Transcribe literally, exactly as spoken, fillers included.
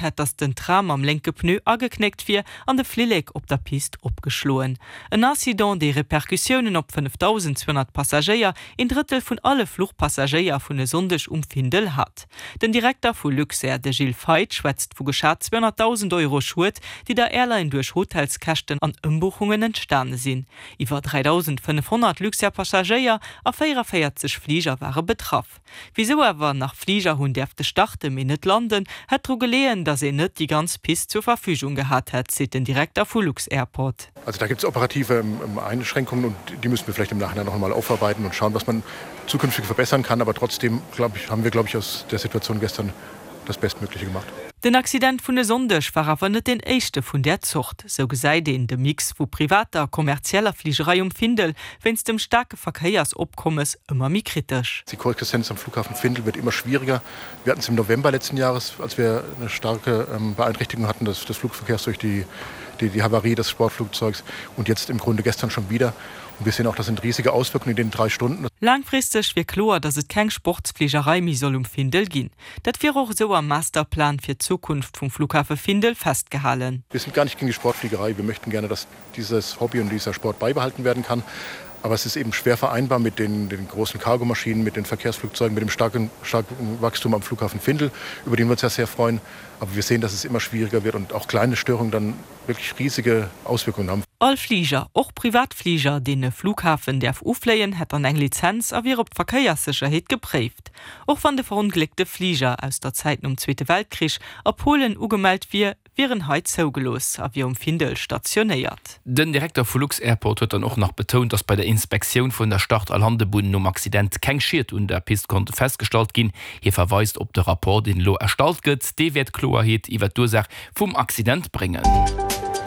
hätt, datt den Tram am lénke Pneu ageknéckt wier an de Flillek op der Pist opgeschloen. En Accident, dee Repercussiounen op fënnefdausendzweehonnert Passagéier, een Drëttel vun alle Fluchpassagéier vun e Sonndeg um Findel hat. Den Direkter vu Luxair, de Gilles Feith, schwätzt vu geschat zweehonnertdausend Euro Schued, déi der Airline duerch Hotelskäschten an Ëmbuchungen entstane sinn. Iwwer dräidausendfënnefhonnert Luxair-Passagéier a véierevéierzeg Fliger ware betraff. Wisou awer nach Fliger hunn däerfte starten, mee net landen, hätt dru geleeën, datt een net déi ganz Pist zur Verfügung gehat hätt, seet den Direkter vu Lux-Airport. Also da gibt es operative Einschränkungen und die müssen wir vielleicht im Nachhinein noch einmal aufarbeiten und schauen, was man zukünftig verbessern kann. Aber trotzdem glaube ich, haben wir glaube ich aus der Situation gestern das Bestmögliche gemacht. Den Accident vun e Sonndeg war awer net deen éischte vun där Zort. Sou gesäit een de Mix vu privater a kommerzieller Fligerei um Findel wéinst dem staarke Verkéiersopkommes ëmmer méi kritesch. Die Koexistenz am Flughafen Findel wird immer schwieriger. Wir hatten es im November letzten Jahres, als wir eine starke Beeinträchtigung hatten des, des Flugverkehrs durch die, die, die Havarie des Sportflugzeugs und jetzt im Grunde gestern schon wieder. Und wir sehen auch, das sind riesige Auswirkungen in den drei Stunden. Laangfristeg wier kloer, datt et keng Sportsfligerei méi soll um Findel ginn. Dat wier och esou am Masterplan fir d'Zukunft vum Flughafe Findel festgehalen. Wir sind gar nicht gegen die Sportfliegerei. Wir möchten gerne, dass dieses Hobby und dieser Sport beibehalten werden kann. Aber es ist eben schwer vereinbar mit den, den großen Cargomaschinen, mit den Verkehrsflugzeugen, mit dem starken, starken Wachstum am Flughafen Findel, über den wir uns ja sehr freuen. Aber wir sehen, dass es immer schwieriger wird und auch kleine Störungen dann wirklich riesige Auswirkungen haben. All Fliger, och Privatfliger, deen e Flughafen däerf ufléien, hätt dann eng Lizenz a wier op d'Verkéierssécherheet gepréift. Och wann de verongléckte Fliger aus der Zäit nom Zweete Weltkrich a Polen ugemellt wier, wier en hei zougelooss a wier um Findel stationéiert. Den Direkter vu Lux-Airport huet dann och nach betount, datt bei der Inspektioun vun der Start a Landebunn nom Accident keng Schied un der Pist konnte festgestallt ginn. Hie verweist op de Rapport, deen elo erstallt gëtt, dee wäert Kloerheet iwwer d'Ursaach vum Accident bréngen.